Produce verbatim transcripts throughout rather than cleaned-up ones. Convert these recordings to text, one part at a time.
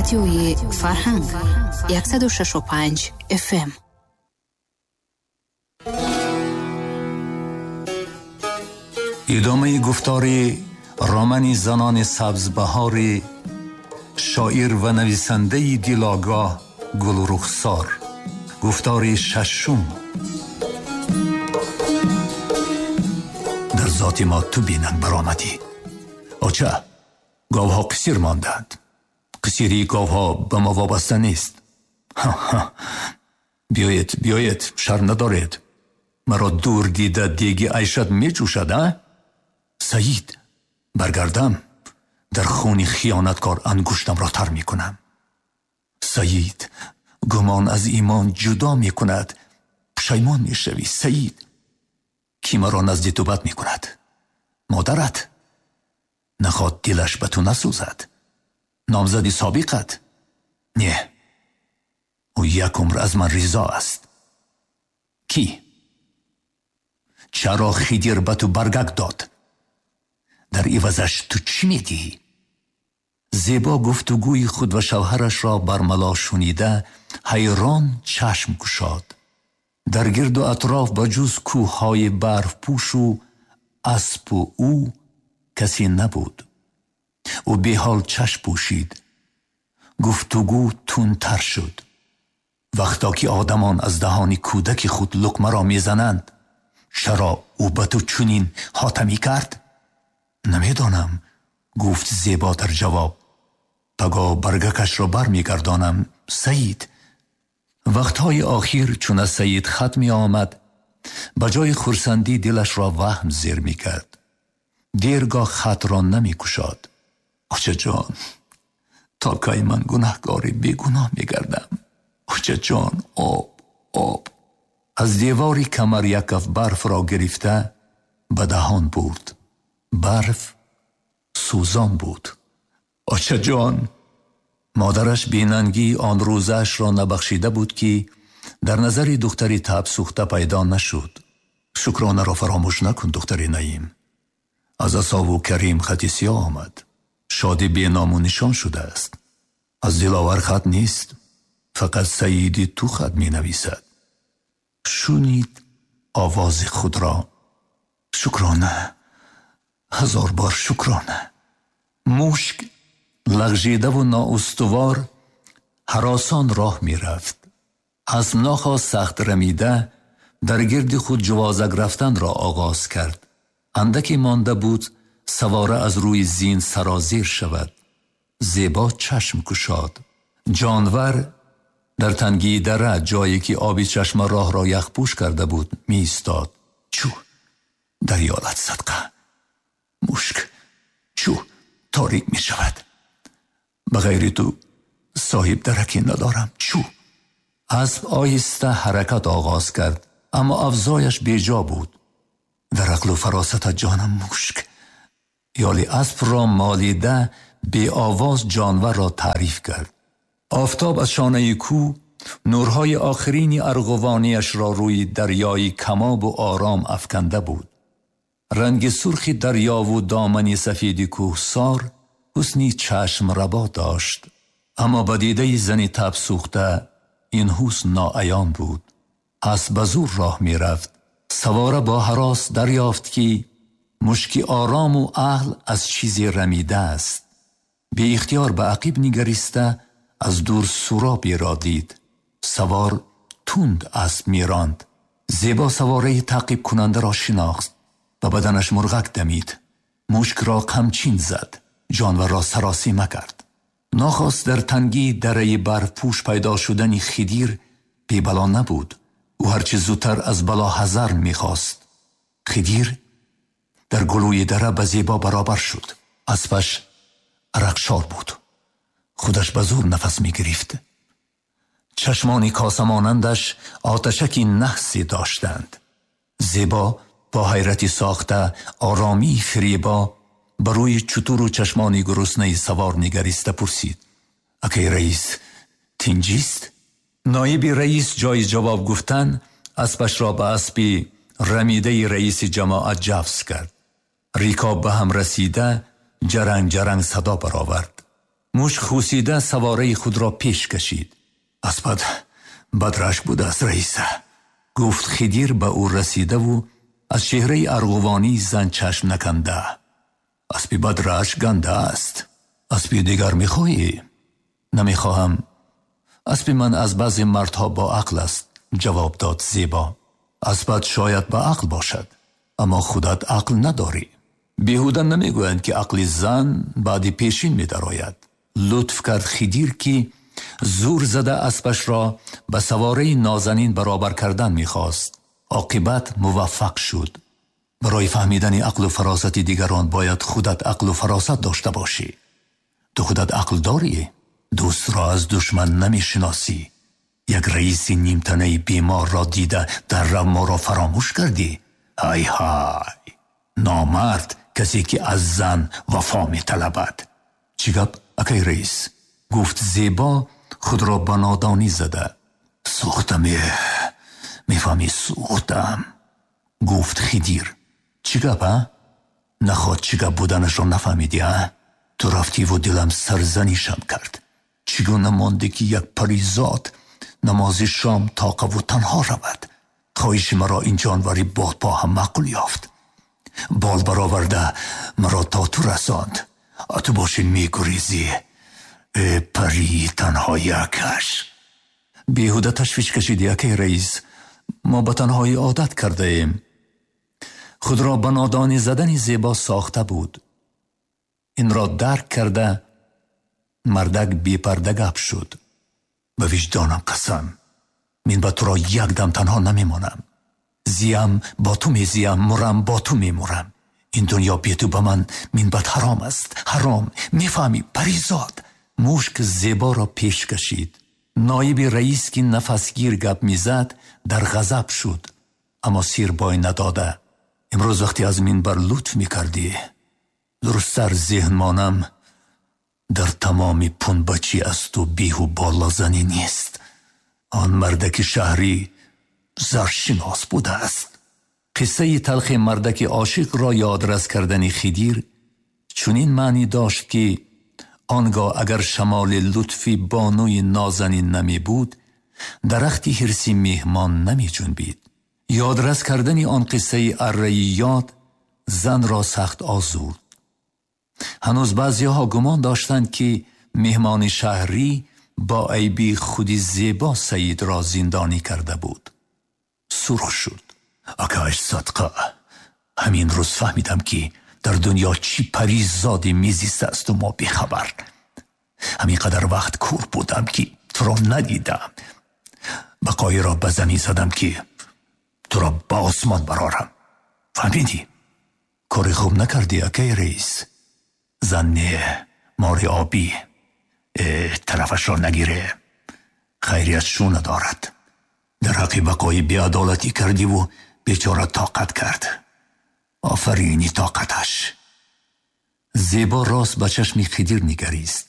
Радиои Фарҳанг яксаду шашу панҷ эф эм. Идомаи гуфтори романи занони сабзбаҳори шоир ва нависандаи дилогоҳ Гулрухсор. Гуфтори шашум. Дар зоти мо ту бинанг баромадӣ. Оча, говҳо қисир монданд. Қисирии говҳо ба мо вобаста нест. Биёед, биёед, шарм надоред. Маро дур дида деги айшат меҷӯшад, а? Саид, баргардам, дар хуни хиёнаткор ангуштамро тар мекунам. Саид, гумон аз имон ҷудо мекунад. Пушаймон мешавӣ, Саид. Кӣ маро назди ту бад мекунад? Модарат? Наход дилаш ба ту насӯзад. Номзади собиқат? Не, ӯ як умр аз ман ризо аст. Кӣ? Чаро Хидир ба ту баргак дод? Дар ивазаш ту чӣ медиҳӣ? Зебо гуфтугӯи худ ва шавҳарашро бармало шунида ҳайрон чашм кушод. Дар гирду атроф ба ҷуз кӯҳҳои барфпӯшу аспу ӯ касе набуд. Ӯ беҳол чашм пӯшид. Гуфтугӯ тундтар шуд. Вақто ки одамон аз даҳони кӯдаки худ луқмаро мезананд, чаро ӯ ба ту чунин ҳотамӣ кард? Намедонам, гуфт Зебо дар ҷавоб. Паго баргакашро бармегардонам, Саид. Вақтҳои охир чун аз Саид хат меомад, ба ҷои хурсандӣ дилашро ваҳм зер мекард. Дергоҳ хатро намекушод. Очаҷон, то кай ман гунаҳкори бегуноҳ мегардам? Очаҷон, об, об. Аз девори камар як каф барфро гирифта ба даҳон бурд. Барф сӯзон буд. Очаҷон! Модараш бенангии он рӯзаашро набахшида буд, ки дар назари духтари таб сӯхта пайдо нашуд. Шукронаро фаромӯш накун, духтари Наим. Аз асову Карим хати сиёҳ омад. Шоди беному нишон шудааст. Аз Диловар хат нест, фақат Саиди ту хат менависад. Шунид овози худро. Шукрона, ҳазор бор шукрона. Мушк лағжидаву ноустувор ҳаросон роҳ мерафт. Асп нохост сахт рамида дар гирди худ ҷувозак рафтанро оғоз кард. Андаке монда буд савора аз рӯи зин сарозер шавад. Зебо чашм кушод. Ҷонвар дар тангии дара, ҷое ки оби чашма роҳро яхпӯш карда буд, меистод. Чӯ, дарёлат садқа. Мушк, чӯ, торик мешавад. Ба ғайри ту соҳиб дараке надорам. Чӯ. Асп оҳиста ҳаракат оғоз кард, аммо афзояш беҷо буд. Дар ақлу фаросатат ҷонам мушк. Ёли аспро молида беовоз ҷонварро таъриф кард. Офтоб аз шонаи кӯ нурҳои охирини арғувониашро рӯи дарёи камобу ором афканда буд. Ранги сурхи дарёву домани сафеди кӯҳсор ҳусни чашмрабо дошт, аммо ба дидаи зани таб сӯхта ин ҳусн ноаён буд. Асп ба зур роҳ мерафт. Савора бо ҳарос дарёфт, ки мушки орому аҳл аз чизе рамидааст. Беихтиёр ба ақиб нигариста аз дур суроберо дид. Савор тунд асп меронд. Зебо савораи таъқибкунандаро шинохт. Ба баданаш мурғак дамид. Мушкро қамчин зад. Ҷонварро саросима кард. Нохост дар тангии дараи барфпӯш пайдо шудани Хидир бебало набуд. Ӯ ҳарчи зудтар аз бало ҳазар мехост. Хидир дар гулӯи дара ба Зебо баробар шуд. Аспаш арақшор буд. Худаш ба зур нафас мегирифт. Чашмони косамонандаш оташаки наҳсе доштанд. Зебо бо ҳайрати сохта оромии фиребо ба рӯи чутуру чашмони гуруснаи савор нигариста пурсид: акай раис, тинҷист? Ноиби раис ҷои ҷавоб гуфтан аспашро ба аспи рамидаи раиси ҷамоат ҷафз кард. Рикоб ба ҳам расида ҷаранг ҷаранг садо баровард. Мушк хусида савораи худро пеш кашид. Аспат бадрашк будааст, раиса, гуфт Хидир ба ӯ расидаву аз чеҳраи арғувонии зан чашм наканда. Аспи бадрашк ганда аст. Аспи дигар мехоҳӣ? Намехоҳам. Аспи ман аз баъзе мардҳо бо ақл аст, ҷавоб дод Зебо. Аспат шояд ба ақл бошад, аммо худат ақл надорӣ. Беҳуда намегӯянд, ки ақли зан баъди пешин медарояд. Лутф кард Хидир, ки зур зада аспашро ба савораи нозанин баробар кардан мехост. Оқибат муваффақ шуд. Барои фаҳмидани ақлу фаросати дигарон бояд худат ақлу фаросат дошта бошӣ. Ту худат ақл дорӣ? Дӯстро аз душман намешиносӣ. Як раиси нимтанаи беморро дида дар рав моро фаромӯш кардӣ? Ҳай ҳай! Номард касе ки аз зан вафо металабад. Чӣ гап, акай раис? Гуфт Зебо худро ба нодонӣ зада. Сӯхтам, э, мефаҳмӣ, сӯхтам, гуфт Хидир. Чӣ гап, а? Наход чӣ гап буданашро нафаҳмидӣ, а? Ту рафтиву дилам сарзанишам кард. Чӣ гуна монде, ки як паризод намози шом тоқаву танҳо равад? Хоҳиши маро ин ҷонвари бодпо ҳам маъқул ёфт. Бол бароварда маро то ту расонд. А ту бошӣ мегурезӣ. Э, парии танҳоякаш. Беҳуда ташвиш кашидӣ, акай раис. Мо ба танҳоӣ одат кардаем. Худро ба нодонӣ задани Зебо сохта буд. Инро дарк карда мардак бепарда гап шуд. Ба виҷдонам қасам, мин ба туро як дам танҳо намемонам. Зиям бо ту мезиям, мурам бо ту мемурам. Ин дунё бе ту ба ман минбад ҳаром аст, ҳаром. Мефаҳмӣ, паризод? Мушк Зеборо пеш кашид. Ноиби раис, ки нафасгир гап мезад, дар ғазаб шуд, аммо сир бой надода. Имрӯз вақте аз минбар лутф мекардӣ, дурусттар зеҳн монам, дар тамоми пунбачӣ аз ту беҳу болозанӣ нест. Он мардаки шаҳрӣ заршинос будааст. Қиссаи талхи мардаки ошиқро ёдрас кардани Хидир чунин маънӣ дошт, ки он гоҳ агар шамоли лутфи бонуи нозанин намебуд, дарахти ҳирси меҳмон намеҷунбид. Ёдрас кардани он қиссаи арраи ёд занро сахт озурд. Ҳанӯз баъзеҳо гумон доштанд, ки меҳмони шаҳрӣ бо айби худи Зебо Саидро зиндонӣ карда буд. Сурх шуд. Акаш садқа, ҳамин рӯз фаҳмидам, ки дар дунё чӣ паризоде мезистасту мо бехабар. Ҳамин қадар вақт кур будам, ки туро надидам. Бақоиро ба замин задам, ки туро ба осмон барорам. Фаҳмидӣ? Кори хуб накардӣ, акай раис. Зан не, мори обӣ. Э, тарафашро нагире. Хайрият шу надорад. Дар ҳаққи бақои беадолатӣ кардиву бечора тоқат кард. Офарини тоқаташ. Зебо рост ба чашми Хидир нигарист.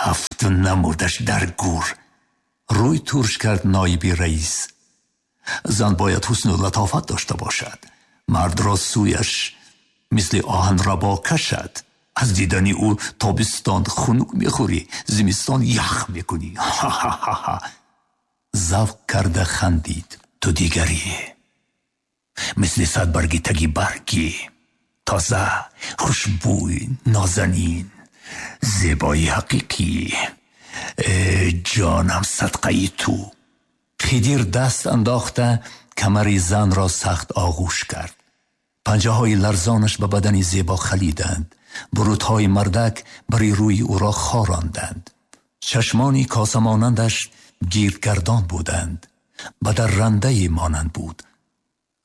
Ҳафт намудаш дар гур. Рӯй турш кард ноиби раис. Зан бояд ҳусну латофат дошта бошад. Мардро сӯяш мисли оҳанрабо кашад. Аз дидани ӯ тобистон хунук мехӯрӣ, зимистон ях мекунӣ. Ха-ха-ха! Завқ карда хандид. Ту дигарӣ. Мисли садбарги таги баргӣ. Тоза, хушбӯй, нозанин, зебои ҳақиқӣ. Э, ҷонам садқаи ту. Хидир даст андохта камари занро сахт оғӯш кард. Панҷаҳои ларзонаш ба бадани Зебо халиданд. Бурутҳои мардак бари рӯи ӯро хоронданд. Чашмони косамонандаш гирдгардон буданд. Ба даррандае монанд буд.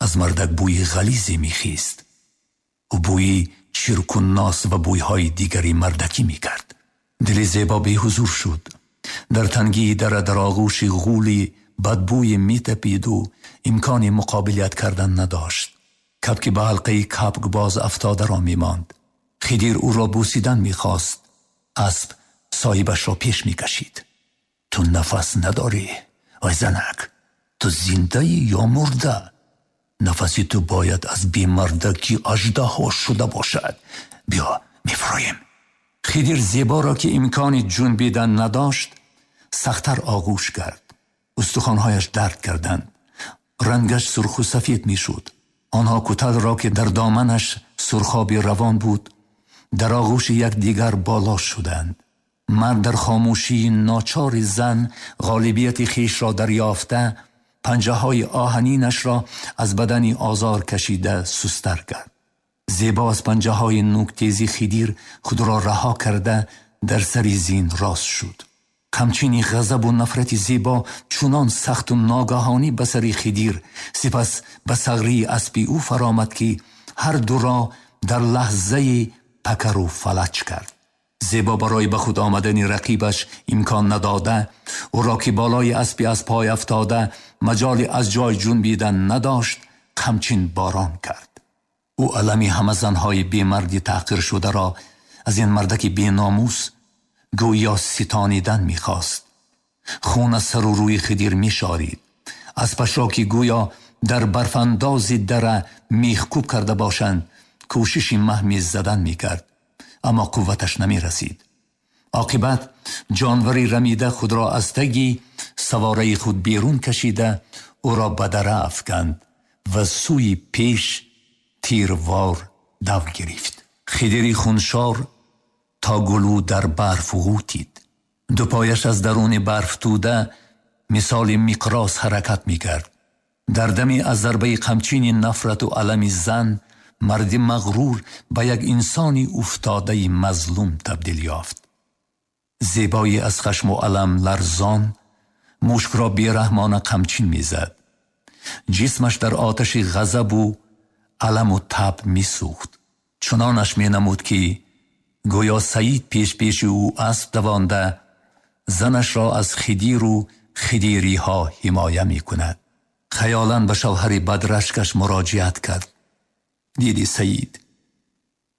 Аз мардак бӯи ғализе мехист. Ӯ бӯи чирку нос ва бӯйҳои дигари мардакӣ мекард. Дили Зебо беҳузур шуд. Дар тангии дара дар оғӯши ғули бадбӯе метапиду имкони муқобилият кардан надошт. Кабки ба ҳалқаи кабкбоз афтодаро мемонд. Хидир ӯро бӯсидан мехост. Асп соҳибашро пеш мекашид. Ту нафас надорӣ, ой занак, ту зиндаӣ ё мурда? Нафаси ту бояд аз бемардаки аждаҳо шуда бошад. Биё, мефуроем. خدیر زیبا را که امکان جنبیدن نداشت سخت‌تر آغوش کرد. استخوان‌هایش درد کردند. رنگش سرخ و سفید می‌شد. آنها کتل را که در دامنش سرخابی روان بود در آغوش یکدیگر بالا شدند. مرد در خاموشی ناچار زن غالبیت خویش را دریافته پنجه های آهنینش را از بدن آزار کشیده سستر کرد. زیبا از پنجه های نوک تیزی خدیر خود را رها کرده در سر زین راست شد. قمچین غضب و نفرت زیبا چنان سخت و ناگهانی به سر خدیر سپس به ثغری اسبی او فرامد که هر دو را در لحظه پکر و فلج کرد. زیبا برای به خود آمدن رقیبش امکان نداده او را که بالای اسبی از پای افتاده مجال از جای جنبیدن نداشت قمچین باران کرد. او الم همه زنهای بیمردی تحقیر شده را از این مردک بی ناموس گویا ستانیدن میخواست. خون از سر و روی خدیر میشارید. اسبش را که گویا در برفانداز دره میخکوب کرده باشند کوشش مهمی زدن میکرد، اما قوتش نمی رسید. عاقبت جانوری رمیده خود را از تگی سواره خود بیرون کشیده او را به دره افکند و سوی پیش تیروار دو گرفت. خدیری خونشار تا گلو در برف غوتید. دو پایش از درون برف توده مثال مقراض حرکت میکرد. در دمی از ضربه قمچین نفرت و الم زن مرد مغرور به یک انسان افتاده مظلوم تبدیل یافت. زیبایی از خشم و الم لرزان مشک را بیرحمانه قمچین میزد. جسمش در آتش غضب و الم و تب میسوخت. چنانش مینمود که گویا سعید پیش پیش او اسب دوانده زنش را از خدیر و خدیری ها حمایه می کند. خیالاً به شوهر بدرشکش مراجعت کرد. دیدی سعید،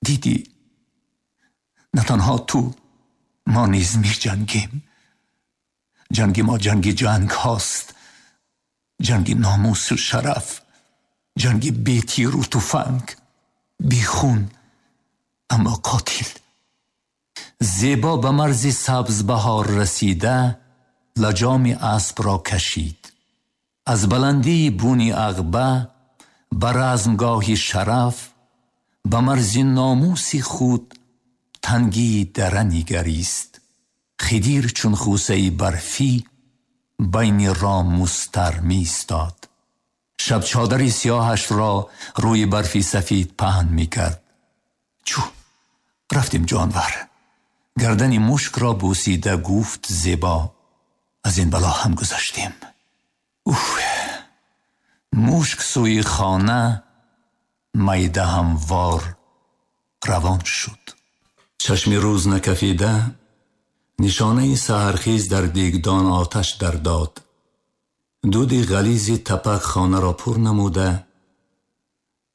دیدی، نه تنها تو، ما نیز می جنگیم. جنگ ما جنگ جنگ هاست، جنگ ناموس و شرف، جنگ بی تیر و تفنگ، بی خون اما قاتل. زیبا به مرز سبز بهار رسیده لجام اسب را کشید. از بلندی بونی عقبه به رزمگاه شرف به مرز ناموس خود تنگی دره نگریست. خدیر چون خوسه برفی بین رام مستر می ایستاد. شب چادر سیاهش را روی برفی سفید پهن می کرد. چو رفتیم جانور. گردن مشک را بوسیده گفت زیبا از این بلا هم گذشتیم. اوه. مشک سوی خانه میده هموار روان شد. چشم روز نکفیده نشانه سحرخیز در دیگدان آتش در داد. دود غلیظ تپک خانه را پر نموده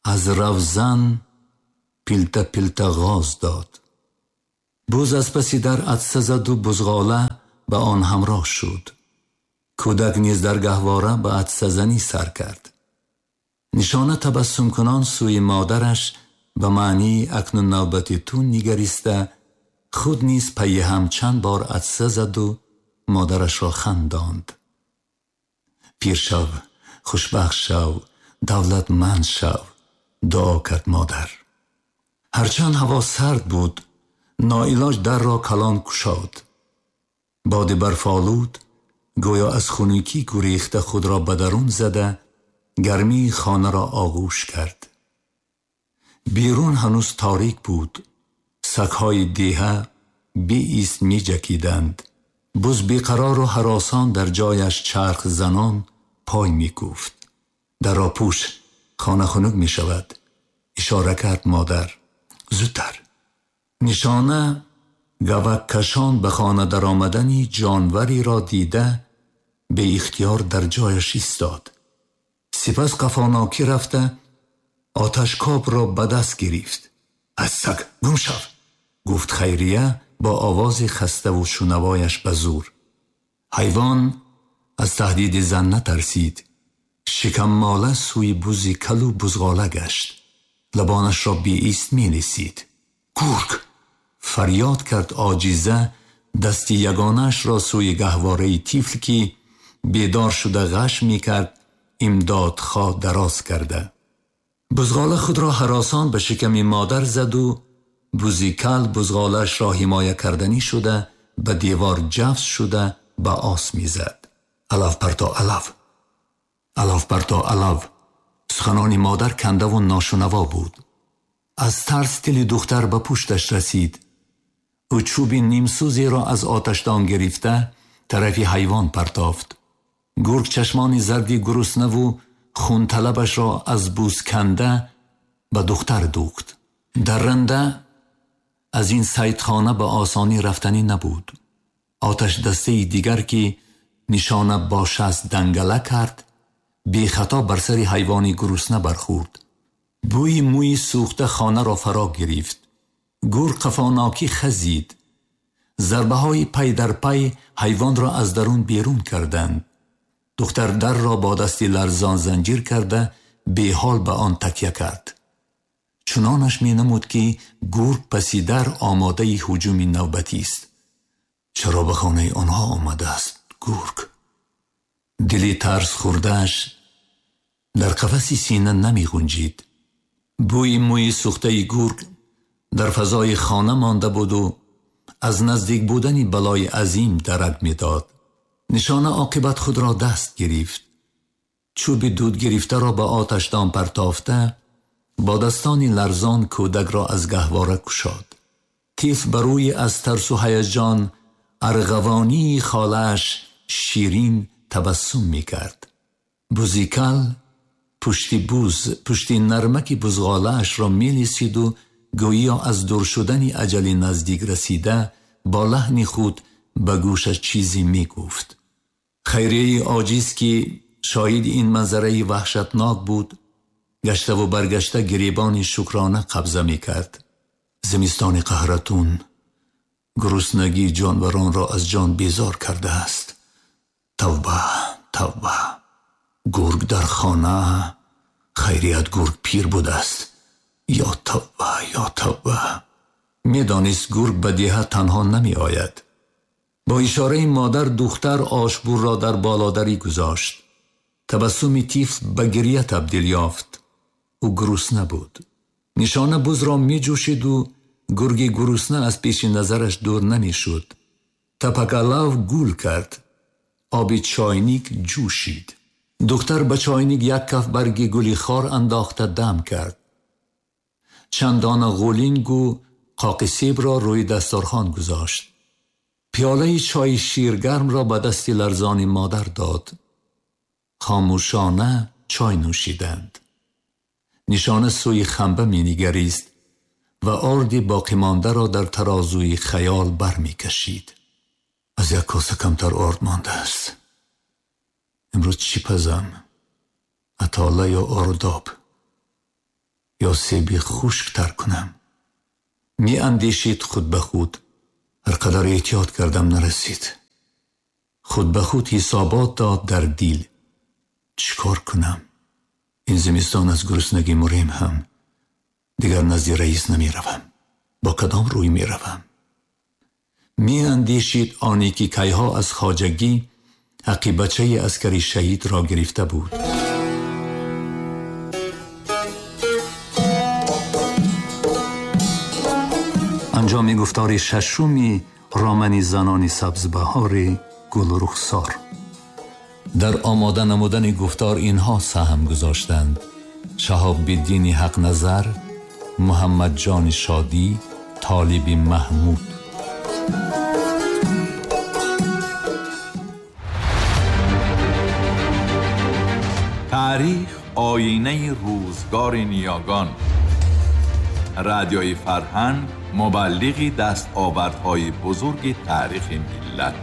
از روزن پلته پلته غاز داد. بز از پس در عطسه زد و بزغاله به آن همراه شد. کودک نیز در گهواره به عطسه زنی سر کرد. نشانه تبسم کنان سوی مادرش به معنی اکنون نوبت تو نگریسته خود نیز پی هم چند بار عطسه زد و مادرش را خنداند. پیر شو، خوشبخت شو، دولتمند شو، دعا کرد مادر. هرچند هوا سرد بود ناعلاج در را کلان گشاد. باد برفالود گویا از خنکی گریخته خود را به درون زده گرمی خانه را آغوش کرد. بیرون هنوز تاریک بود. سگ‌های دیهه بی ایست می جکیدند. بز بیقرار و هراسان در جایش چرخ زنان پای می کوفت. در را پوش، خانه خنک می شود. اشاره کرد مادر. زودتر. نشانه گوک کشان به خانه در آمدنی جانوری را دیده به اختیار در جایش ایستاد. سپس قفاناکی رفته آتشکاب را به دست گرفت. از سگ گم شو، گفت خیریه با آواز خسته و شنوایش به زور. حیوان از تهدید زن نترسید. شکم ماله سوی بز کل و بزغاله گشت. لبانش را بی ایست می لیسید. گرگ، فریاد کرد عاجزه، دست یگانش را سوی گهواره طفل که بیدار شده غش می کرد امداد خواه دراز کرده. بزغاله خود را هراسان به شکم مادر زد و بوزیکل بزغالش را حمایه کردنی شده به دیوار جفس شده به آس می زد. علف پرتا علف، علف پرتا علف. سخنان مادر کنده و ناشنوا بود. از ترس دل دختر به پشتش رسید. او چوب نیمسوزی را از آتشدان گرفته طرف حیوان پرتافت. گرگ چشمان زردی گرسنه و خون طلبش را از بوز کنده به دختر دوخت. درنده از این صیدخانه به آسانی رفتنی نبود. آتش دسته دیگر که نشانه با شست دنگله کرد بی خطا بر سر حیوانی گرسنه برخورد. بوی موی سوخته خانه را فرا گرفت. گرگ قفاناکی خزید. ضربه های پی در پی حیوان را از درون بیرون کردند. دختر در را با دستی لرزان زنجیر کرده بی حال به آن تکیه کرد. چنانش می نمود که گرگ پسی در آماده هجوم نوبتی است. چرا به خانه آنها آمده است گرگ؟ دلی ترس خوردهش در قفس سینه نمی گنجید. بوی موی سوخته گرگ در فضای خانه مانده بود و از نزدیک بودن بلای عظیم درک می داد. نشانه عاقبت خود را دست گرفت. چوب دود گرفته را به آتشدان پرتافته با دستانی لرزان کودک را از گهواره کشاد. طفل بر روی از ترس و هیجان ارغوانی خالش شیرین تبسم می کرد. بوزیکل پشتی بوز پشتی نرمک بزغاله اش را می لیسید و گویا از دور شدن اجل نزدیک رسیده با لحن خود به گوشش چیزی می گفت. خیریه عاجز که شاهد این منظره وحشتناک بود گشته و برگشته گریبان شکرانه قبضه می کرد. زمستان قهرتون گرسنگی جانوران را از جان بیزار کرده است. توبه توبه. گرگ در خانه، خیریت گرگ پیر بوده است. یا توبه یا توبه. می دانست گرگ به دیه تنها نمی آید. با اشاره مادر دختر آشبور را در بالادری گذاشت. تبسم طفل به گریه تبدیل یافت. او گرسنه بود. نشانه بز را می جوشید و گرگ گرسنه از پیش نظرش دور نمی شد. تپکلاو گول کرد. آب چاینیک جوشید. دختر به چاینیک یک کف برگ گلی خار انداخته دم کرد. چند دانه غولینگ و قاق سیب را روی دسترخوان گذاشت. پیاله چای شیرگرم را به دست لرزان مادر داد. خاموشانه چای نوشیدند. نشانه سوی خنبه می نگریست و آرد باقی مانده را در ترازوی خیال بر می کشید. از یک کاسه کمتر آرد مانده است. امروز چی پزم؟ اتاله یا آرداب؟ یا سیبی خشک تر کنم؟ می اندیشید خود به خود. هر قدر احتیاط کردم نرسید. خود به خود حسابات داد در دیل. چیکار کنم؟ این زمستان از گرسنگی مریم هم. دیگر نزد رئیس نمی روم. با کدام روی می روم؟ می اندیشید آنی که کیها از خواجگی حقی بچه عسکری شهید را گرفته بود. انجام گفتار ششمی رامنی زنان سبزبهار گل رخسار. در آماده نمودن گفتار اینها سهم گذاشتند: شهاب الدین حق نظر، محمد جان شادی، طالب محمود. تاریخ آینه روزگار نیاگان. رادیوی فرهنگ مبلغی دستاوردهای بزرگ تاریخ ملت.